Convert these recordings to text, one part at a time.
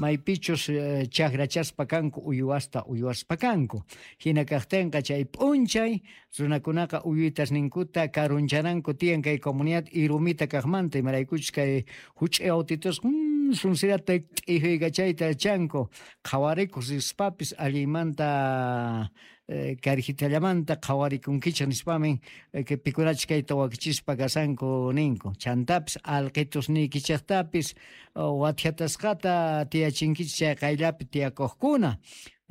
Maypichus chakrachaspa kanku uywasta uywaspa kanku. Hina kaqtinqa chay p'unchay runakunaqa uywitasninkuta karunchananku tiyan kay comunidad Irumita kaqmanta, imaraykuchus kay huch'uy autitusqa sunsirata t'ijuykachayta yachanku, qhawarikuq rispapis allinmanta karjitallamanta qhawarikunkichik nispamin pikunachus kayta wakichispa kashanku ninku. Chantapis alqitusniykichiktapis wathiatasqata tiyachinkichik chay qayllapi tiyakuqkuna.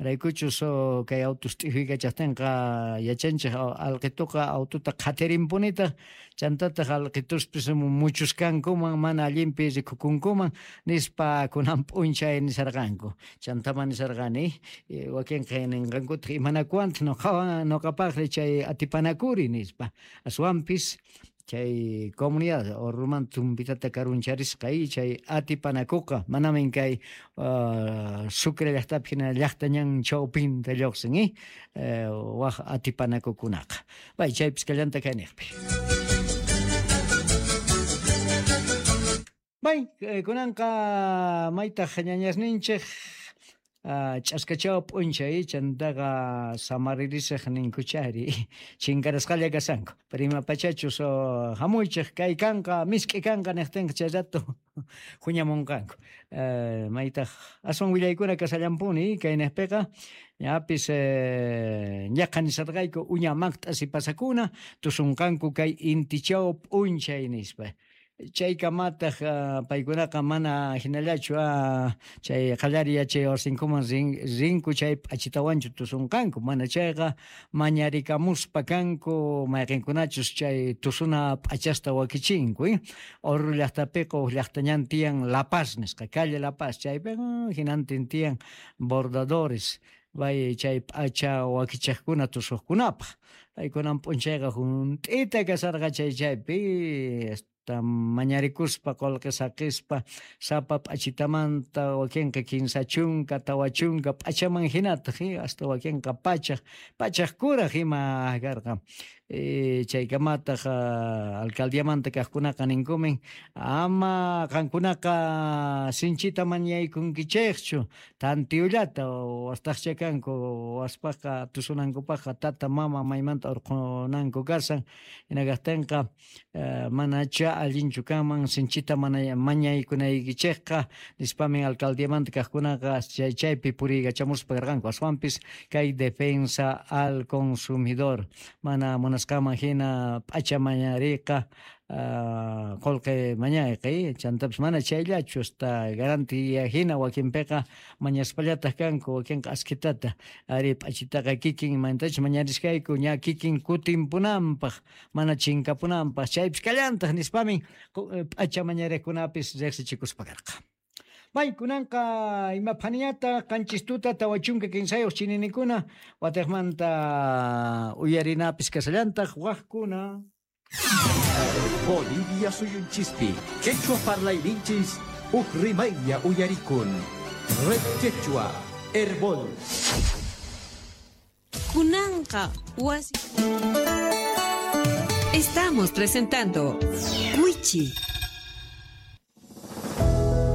Raykuchus kay autos t'ijuykachaqtinqa yachanchik alqituqa autota qhatirinpunitaq, chantataq alqituspis muchuskankuman mana allinpi rikukunkuman nispa kunan p'unchay nisarqanku. Chantaman nisarqani wakinqa ninqankutaq imanakuwantaq nuqapaqri chay atipanakuri nispa. Aswanpis chay comunidad Orurumanta Chumbitata karuncharisqa chay atipanakuqa manamin kay Sucre llaqtapi hina llaqta ñan chawpinta lluqsin waq atipanakukunaqa. Bay chaypis kallanta kayniqpi. Bay kunanqa maytaq ñañasninchik ch'askachaw p'unchay chantaqa samaririsaq ninkuchari chinkarasqalla kashanku. Pero ima pachachus hamuychik kay kanqa misk'i kanqa niqtinqa chay rato huñamunqanku. Maytaq aswan willaykuna kashallampuni kayniqpiqa ñapis ñaqa nisarqayku uña maqt'asi pasakuna tusunqanku kay intichaw p'unchay nispa. Chaykamataq paykunaqa mana hinallachu chay qallari yachay wasinkuman rinku chay p'achitawanchu tusunqanku, mana chayqa mañarikamuspa kanku mayqinkunachus chay tusuna p'achasta wakichinku. Oruro llaqtapiqa huk llaqta ñan tiyan La Paz nisqa, calle La Paz, chaypiqa hinantin tiyan bordadores bay chay p'acha wakichiqkuna tusuqkunapaq. Paykunan p'unchayqa hunt'ita kasarqa chay chaypi mañarikuspa qullqi saqispa sapa p'achitamanta wakinqa 30 40 p'achaman hinataq hasta wakinqa pachaq kuraq ima karqa. Chaykamataq alcaldiamanta kaqkunaqa ninkumin ama qankunaqa sinchita mañaykunkichikchu tantiyullata wastaqcha kanku waspaqqa tusunankupaqqa tata mama maymanta urqunanku kasan hina kaqtinqa manacha allinchu kanman sinchita mañaykunaykichikqa nispamin alcaldiamanta kaqkunaqa chay chaypi puriykachamuspa karqanku. Aswanpis kay defensa al consumidor mana munasqaman hina p'acha mañariqa qullqi mañayqi chantapis mana chayllachu hasta garantía hina wakinpiqa mañaspallataq kanku wakinqa askitata ari p'achitaqa kikin mantachus mañarisqayku ña kikin kutinpunanpaq mana chinkapunanpaq chaypis kallantaq nispamin p'acha mañariqkunapis riqsichikuspa karqa. Bay kunanqa ima phaniñata 7 tuta 43 chininikuna watiqmanta uyarinapis kasallantaq waqkuna. Bolivia suyunchispi quechua parlayninchis huk rimaylla uyarikun. Red Quechua Herbol. Kunanqa wasi. Estamos presentando Wichi.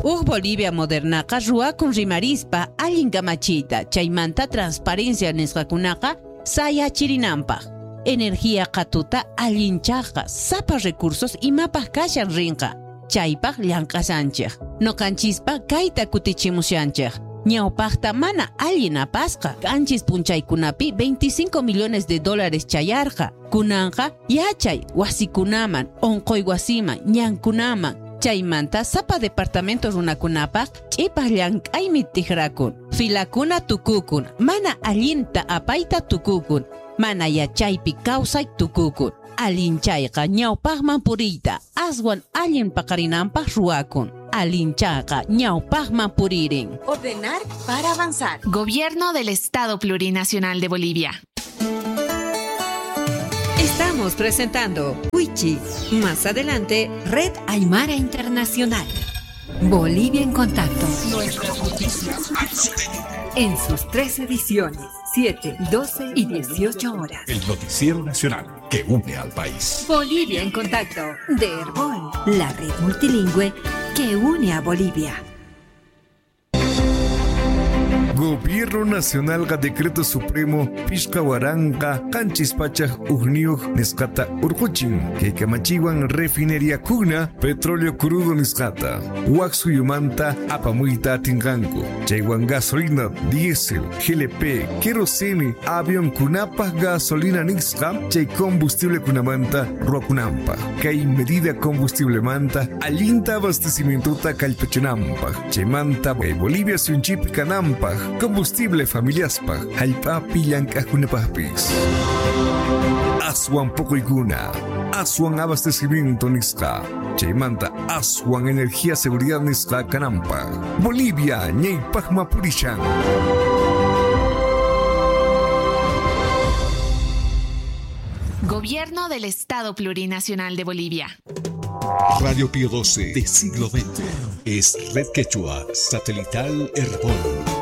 Huk Bolivia modernaqa ruwakun rimarispa allin kamachiyta chaymanta transparencia nisqakunaqa sayachirinanpaq. Energía qhatuta allinchaqqa sapa recursos imapaq kashan rinqa chaypaq llank'ashanchik nuqanchispa kayta kutichimushanchik. Ñawpaqta mana allin apasqa qanchis punchaykunapi $25 millones chayarqa kunanqa yachay wasikunaman unquy wasiman ñankunaman chaymanta sapa departamento runakunapaq ch'ipaq llank'aymi tijrakun filakuna tukukun mana allinta apayta tukukun mana yachaypi kawsay tukukun allinchayqa ñawpaqman puriyta aswan allin paqarinanpaq ruwakun allinchayqa ñawpaqman puririn. Ordenar para avanzar. Gobierno del Estado Plurinacional de Bolivia. Estamos presentando Wichi. Más adelante, Red Aymara Internacional. Bolivia en contacto. Nuestras noticias. En sus 3 ediciones, 7, 12 y 18 horas. El noticiero nacional que une al país. Bolivia en contacto de Herbol, la red multilingüe que une a Bolivia. Gobierno Nacionalqa Decreto Supremo 5701 nisqata urquchin. Kay kamachiwan refinería kuna petróleo crudo nisqata. Wak suyumanta apamuyta atinqanku. Chaywan gasolina, diésel, GLP, kerosene, avión kunapaj gasolina nisqa, chay combustible kunamanta ruakunampa. Kay medida combustible manta allinta abastecimientota kallpachinampa. Chaymanta kay Bolivia suyunchikpi kananpaj, combustible familiaspaj, hallp'api llank'aqkunapajpis. Aswan puquykuna, aswan abastecimiento nisqa, chaymanta aswan energía seguridad nisqa kananpaj. Bolivia ñaypaqma purishan. Gobierno del Estado Plurinacional de Bolivia. Radio Pío 12 de siglo XX es Red Quechua Satelital Herbol.